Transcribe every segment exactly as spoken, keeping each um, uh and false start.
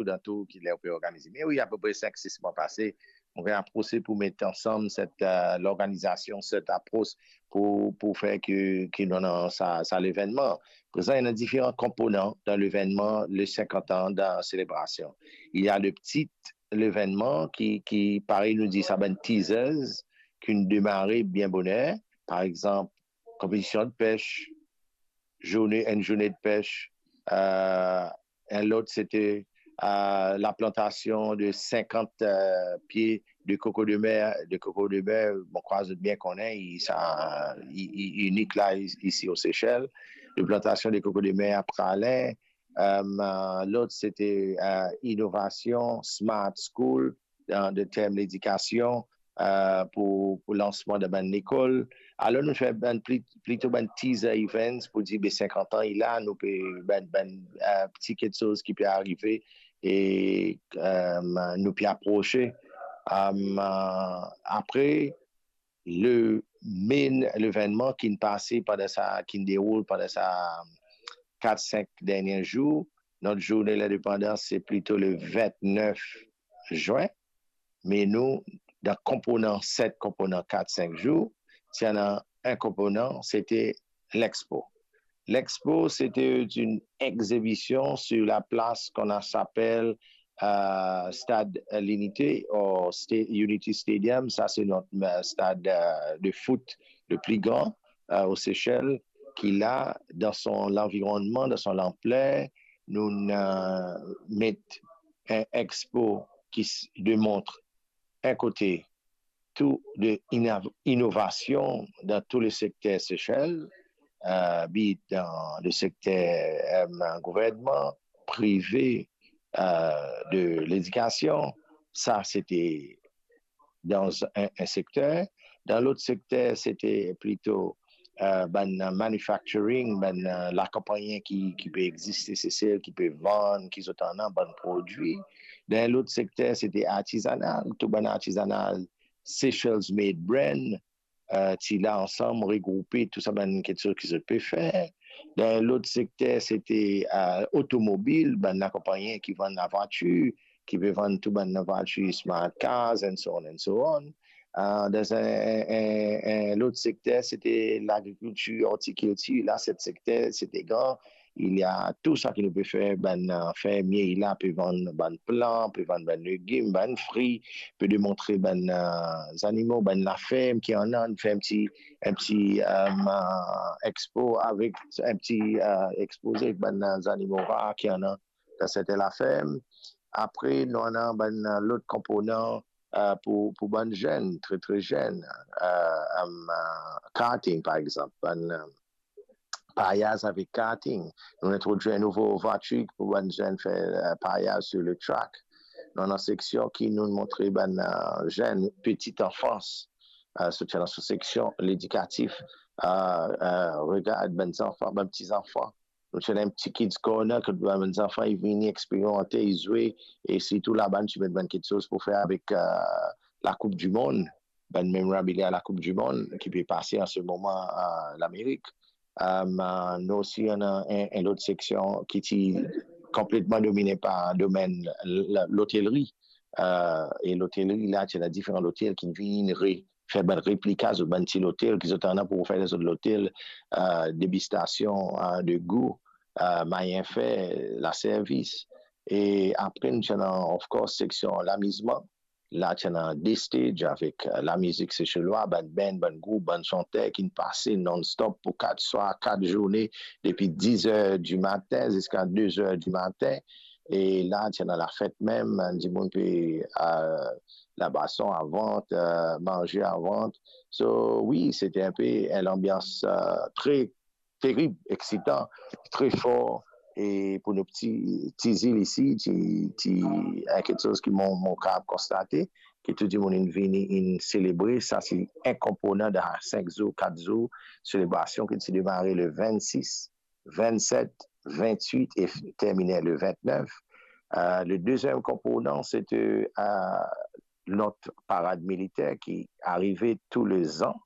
toudantou ki ler pe organize. Me wi, apepre sink, sis mwa pase, nou pe aprose pou met ansam set, eh, lorganizasion, set apros pou, pou fer ki, ki nou ena sa, sa levennman. Prezan, ena diferan konponan dan levennman, le sinkant an de selebrasion. Il y a le petit levennman ki, ki, parey nou dir, sa bann teasers, ki'nn demare bien boner. Par exanp, konpetision de pes, zourne, enn zourne de pes, eh, enn lot, sete, eh, laplantasion de sinkant, eh, pie de koko de mer, de koko de mer, mo krwar zot bien kone, li, sa, li, li inik la, i-, isi o Sesel, laplantasion de koko de mer a Praslin, eh, lot, sete, eh, inovasion, Smart School, dan, dan term ledikasion, eh, pou, pou lansman dan bann lekol. Alor, nou fer bann pli-, plito bann teaser events pou dir, be sinkant an li la, nou pe bann, bann, eh, ti kiksoz ki pe arive e, eh, nou pe aprose. Eh, apre, le main levennman ki'nn pase pandan sa, ki'nn deroul pandan sa kat, sink dernie zour, not zourne lindepandans, se plito le vintnef zin. Me nou, dan konponan, set konponan, kat, sink zour, ti ena enn konponan, sete l'expo. L'expo, c'était une exhibition sur la place qu'on a, s'appelle, euh, Stade L'Unité ou Sta-, Unity Stadium. Sa, se not, euh, stad, euh, de foot le pli gran, euh, o Sesel, ki la, dan son lanvironnman, dan son lanpler, nou, euh, met enn expo ki s-, demont enn kote tou de ina-, inovasion dan tou le sekter Sesel, euh, be it dan le sekter, euh, gouvernman, prive, euh, de ledikasion. Sa, sete dan enn, enn sekter. Dan lot sekter, sete plito, euh, bann manufacturing, bann, euh, lakonpagni ki, ki pe existe Sesel, ki pe vann, ki zot ena bann prodwi. Dan lot sekter, sete artizanal, tou bann artizanal, Seychelles Made Brand, euh, ti la ansam, regroupe tou sa bann kiksoz ki zot pe fer. Dan lot sekter, sete, euh, otomobil, bann lakonpagni ki vann lavwatir, ki pe vann tou bann lavwatir, smart cars, and so on and so on. Euh, dan enn, enn, enn, enn lot sekter, sete lagrikiltir, ortikiltir. La, set sekter, sete gran. Il y a tou sa ki nou pe fer, bann, euh, fermie la pe vann bann plan, pe vann bann legim, bann fri, pe demontre bann, euh, zanimo, bann laferm ki ena, fer enn ti, enn ti, euh, expo avek enn ti, euh, expoze avek bann, euh, zanimo rar ki ena dan serten laferm. Apre, nou ena bann, euh, lot konponan, euh, pou, pou bann zenn, tre, tre zenn, euh, euh, karting, par exanp, bann, euh, paryaz avek karting. Nou introdwir enn nouvo vwatir pou bann zenn fer, euh, paryaz sur le track. Nou ena seksion ki nou montre bann, euh, zenn, petite enfance. Euh, so, ti ena so seksion ledikatif, euh, euh, regard bann zanfan, bann pti zanfan. Nou ti ena enn pti kids corner kot bann zanfan, li vini eksperimante, li zwe, e sirtou laba, nou ti met bann kiksoz pou fer avek, euh, la Coupe du Monde, bann memorabilia la Coupe du Monde ki pe pase an se moman, euh, Lamerik. Euh, nou osi, ena enn, enn lot seksion ki ti konpletman domine par domenn l-, lotelri. Euh, e lotelri la, ti ena diferan lotel ki vinn re-, fer bann replika zot bann ti lotel ki zot ena pou fer zot lotel, euh, degistasion, euh, de gou, euh, manier fer, laservis. E apre, nou ti ena, of course, seksion lamizman. La, ti ena de stage avek, euh, lamizik seselwa, bann band, bann group, bann santer ki'nn pase non-stop pou kat swar, kat zourne, depi diz er di matin ziska de er di matin. E la, ti ena lafet mem, dimoun pe, euh, labason a vant, euh, manze a vant. So, wi, sete enn pe enn lanbians, euh, tre terib, eksitan, tre for. E pou nou pti, ti zil isi, ti, ti, enn kiksoz ki mo, mo kapav konstate, ki tou dimoun inn vini, inn selebre. Sa se enn konponan dan sink zour, kat zour selebrasion ki ti demare le vennsis, vennset, vennwit e f-, termine le vennef. Euh, le deziem konponan, sete, euh, not parad militer ki arive tou le zan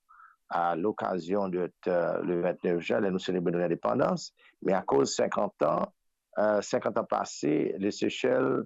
a lokazion de, euh, le vennef zin, ler nou selebre nou lindepandans. Me akoz sinkant an, euh, sinkant an pase, le Sesel